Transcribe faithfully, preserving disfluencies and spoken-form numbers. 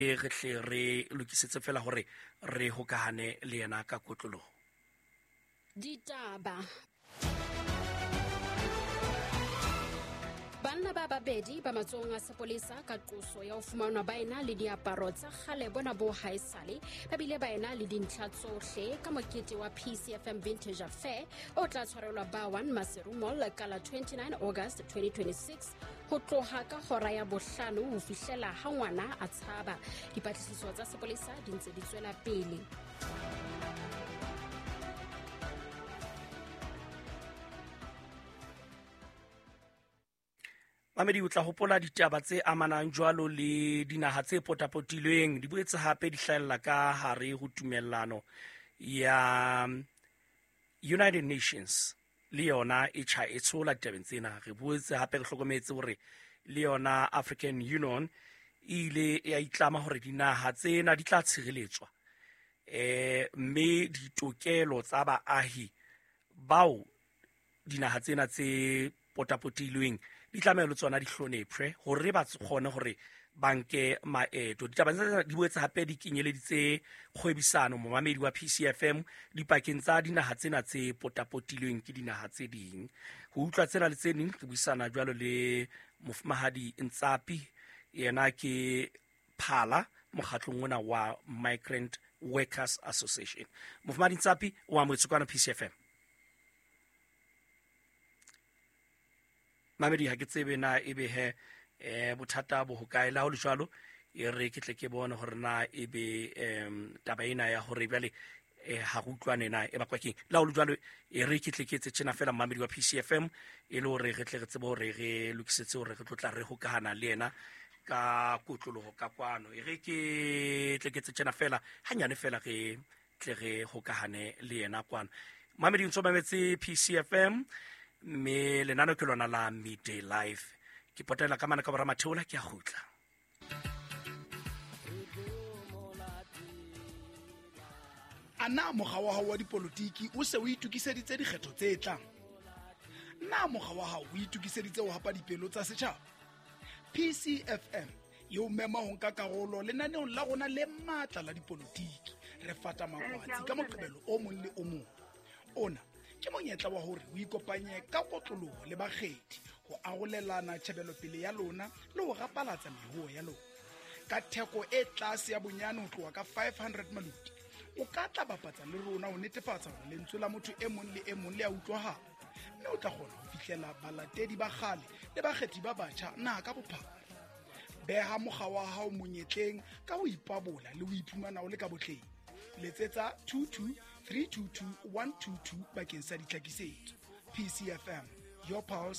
Re hle re lokisetse fela hore re hokahane le yena ka kotloloho. Ditaba. Banna ba babedi ba matsohong a sepolesa ka qoso ya ho fumanwa ba ena le diaparo tsa kgale bona bo haesale, ba bile ba ena le dintlha tsohle ka mokete wa P C F M Vintage Affair o tla tshwarelwa ba one Maseru Mall ka la twenty-nine August twenty twenty-six ho tloha ka hora ya bohlano ho fihlela ha ngwana a tshaba. Dipatlisiso tsa sepolesa di ntse di tswela pele. Mamedi, o tla hopola ditaba tse amanang jwalo le dinaha tse potapotilweng di boetse hape di hlahella ka hare ho tumellano ya United Nations le yona e tjha e tshola ditabeng tsena. Re boetse hape re hlokometse hore le yona African Union e ile ya itlama hore dinaha tsena di tla tshireletswa, eh mme ditokelo tsa baahi bao dinaha tsena tse potapotilweng di tlameha le tsona di hlonephe hore ba kgone hore ba nke maeto. Ditaba tsena di boetse hape di kenyeleditse kgwebisano momamedi wa P C F M dipakeng tsa dinaha tsena tse potapotilweng ke dinaha tse ding. Ho utlwa tsena le tse ding re buisana jwalo le Mofumahadi Ntsapi, yena ke phala mokgatlong ona wa Migrant Workers Association. Mofumahadi Ntsapi o amohetswe kwana P C F M. Mamedi, ha ke tsebe na ebe he eh bothata bo hokae. La ho le jwalo e re ke tle ke bone hore na ebe em taba ena ya hore jwale eh ha re utlwane na e bakwa keng. La ho le jwalo e re ke tle ke etse tjena fela mamedi wa P C F M e le hore re tle re tsebe hore re lokisetse hore re tlo tla re hokahana le yena ka kotloloho ka kwano. E re ke tle ke etse tjena fela hanyane fela re tle re hokahane le yena kwano. Mamedi, ntso mametse P C F M mme lenano ke lona la Midday Life. Ke potela ka mana ka bora matheola, ke a kgutla. A na mokga wa hao wa dipolotiki o se o itokiseditse dikgetho tse tlang? Na mokga wa hao o itokiseditse ho hapa dipelo tsa setjhaba? P C F M e o mema ho nka karolo lenaneong la rona le matla la dipolotiki. Re fata makwatsi ka Moqebelo o mong le o mong. Ona ke monyetla wa hore o ikopanye ka kotloloho le bakgethi ho arolelana tjhebelopele ya lona le ho rapalatsa meruo ya lona. Ka theko e tlase ya bonyane ho tloha ka five hundred maluti, o ka tla bapatsa le rona ho netefatsa hore lentswe la motho e mong le e mong le a utlwahala, mme o tla kgona ho fihlela balatedi ba kgale le bakgethi ba batjha naha ka bophara. Beha mokga wa hao monyetleng ka ho ipabola le ho iphumana o le ka botleng. Letsetsa two two three two two one two two bakeng sa ditlhakisetso. P C F M, your pulse.